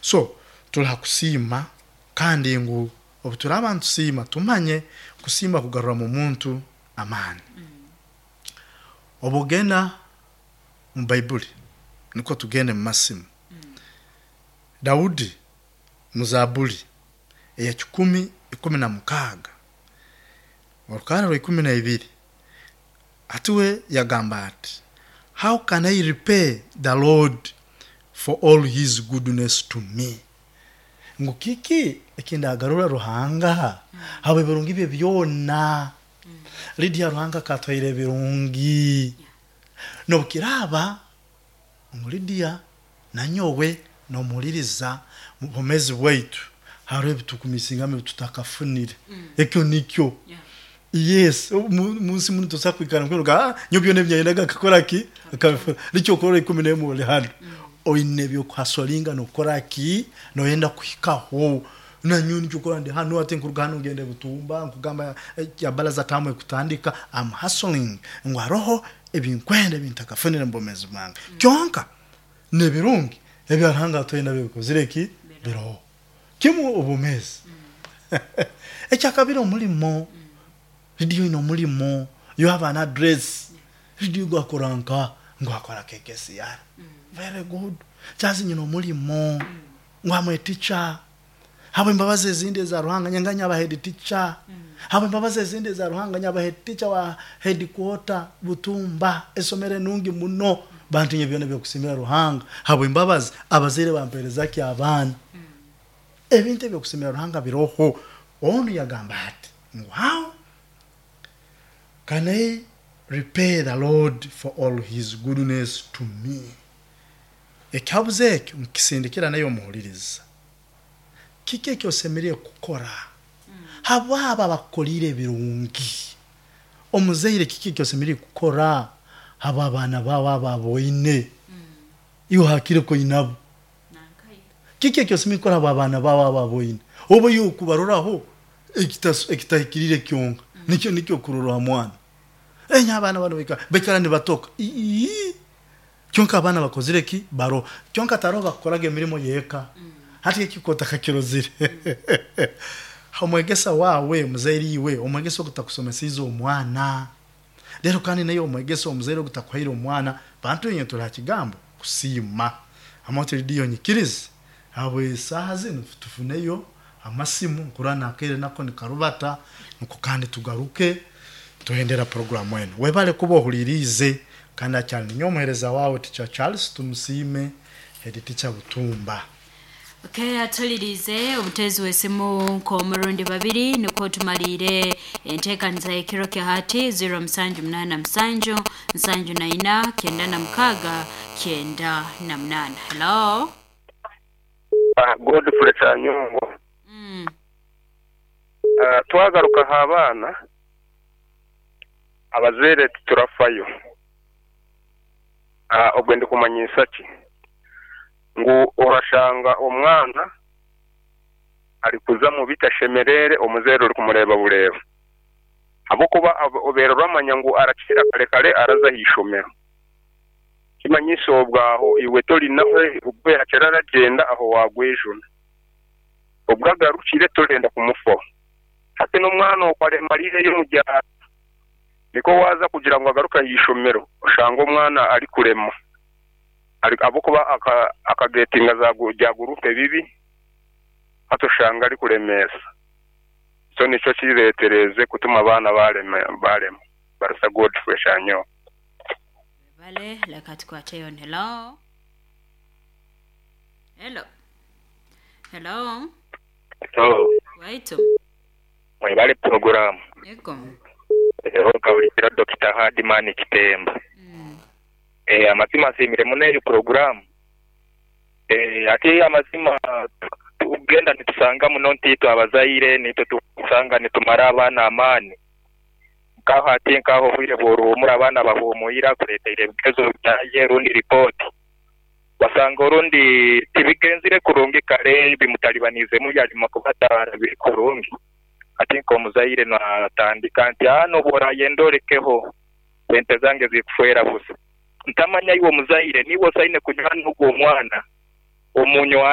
So tuli ha kusiima, kandi ngu obu turaaba nitusiima tumanye kusiima kugarramu omuntu amaani. Obu ogenda mu Baibuli, nikwo tugende mu masimu, Daudi mu Zaabuli eya 116, orukarra rwa 12, hati we yagamba ati, "How can I repay the Lord for all his goodness to me?" Ngu kiki eki ndagarurra Ruhanga habw'ebirungi bye byona? Lydia, Ruhanga akatuhaire ebirungi. N'obu kiraaba ngu Lydia nanyowe n'omuhuliriza mu bwomeezi bwaitu haroho ebi tukumisingamu ebi tutakafunire. Ekyo nikyo. Yes, munsi munu tosobola kwikara ngu nyowe byona ebi nyayendaga nkakora ki? Nkabifuna. Nikyo okurora 11 oli hanu. Oine eby'okuhasolinga n'okukora ki? Noyenda kuhikaho. Nanyowe nikyo okurora ndi hanu hati nkuruga hanu ngenda Butumba nkugamba ya baraza taamu ekutandika, am hustling ngu haroho ebinkwenda ebi ntakafunire mu bwomeezi bwange. Kyonka n'ebirungi ebya Ruhanga atuhaire nabyo bikozire ki? Biroho. Kimu obwomeezi. Ekyakabiri omulimo. Lydia oine omulimo, you have an address. Lydia ogu akora nka? Ngu akora KKCR. Very good. Charles nyine omulimo. Ngu am a teacher. Habw'embabazi ezindi eza Ruhanga nyanga nyaba head teacher. Habw'embabazi ezindi eza Ruhanga nyaba head teacher wa headquarter Butumba, esomero enungi muno. Bantu inywe byona eby'okusiimira Ruhanga habw'embabazi abazaire bampeereza ki abaana. Ebintu eby'okusiimira Ruhanga biroho. Onu yagamba ati ngu how can I repay the Lord for all his goodness to me? Ekihabuzo ekyo nkukisindikira naiwe omuhuliriza. Kiki eki osemeriire kukora habw'abo abakukoliire ebirungi? Omuzaire kiki eki osemeriire kukora habw'abaana baawe abo aboine? Iwe hakire koinabo. Kiki eki osemeriire kukora habw'abaana baawe abo aboine? Oba iwe okubaroraho ekitahikiriire kyonka nikyo nikyo okurorwa ha mwana. Enye abaana banu baikara nibatoka. Ii! Kyonka abaana bakozire ki? Baroho. Kyonka taroho bakukoraga emirimo y'eka. Hati eki kotakakirozire. Omwegesa waawe, muzaire iwe, omwegesa ogu takusomesiize omwana. Reero kandi naiwe omwegesa omuzaire ogu takuhaire omwana, bantu inywe tuli ha kigambo kusiima. Amooti Lidiya onyikirize, habw'esaaha zinu tufuneyo amasimu, nkurora n'akaire nako nikarubata, nukwo kandi tugaruke tuhendera puroguraamu enu. Webale kuba ohuliiriize kandi akyali ninyowe omuheereza waawe Teacher Charles Tumusiime, Head Teacher Butumba. Okay, atulirize obuteezi w'esimu nk'omurundi babiri nukwo tumaliire enteekaniza y'ekiro kya hati. 0787 74 96 98. Hello. Godfrey Kyanyongo. Twagaruka aha baana, abazaire titurafayo. Obwe ndikumanyisa ki? Ngu orashanga omwana arikuza omu bitashemereire omuzaire orikumureeba bureeba. Ahabw'okuba obaire oramanya ngu arakira kare kare araza aha ishomero. Kimanyisa obwo aho iwe tori nawe obu yaakira aragyenda aho waagwejuna. Obu agarukire torenda kumufaho. Hati n'omwana okwo aremariireyo omu byaro. Nikwo waaza kugira ngu agaruke aha ishomero oshange omwana arikurema ahabw'okuba akagetinga za guruupu bibi hati oshanga arikuremeesa. So nikyo kireetereize kutuma abaana barema. Barasa Godfrey Shanyowa. Webale, leka tukwateyo. Hello. Hello. Hello. Hello. Waitu. Mwebale pulogulaamu. Ego. Eho nkahulikira Dokita Hardman Kitemba. Amazima nsiimire muno eyo pulogulaamu. Ati amazima tugenda nitusanga muno nti itwe abazaire nitwe tukusanga nitumara abaana amaani. Nkaho ati nkaho obwire bw'oruhumura abaana bahumuira akureteire ebigezo byaye rundi ripooti. Wasanga orundi tibigenzire kurungi kare bimutalibaniizemu yarema kuba tarabire kurungi. Ati nk'omuzaire natandika nti aa n'obworayenda orekeho sente zange zikufeera busa. Ntamanya iwe omuzaire niiwe osaine kunywana ogwo omwana omunywane.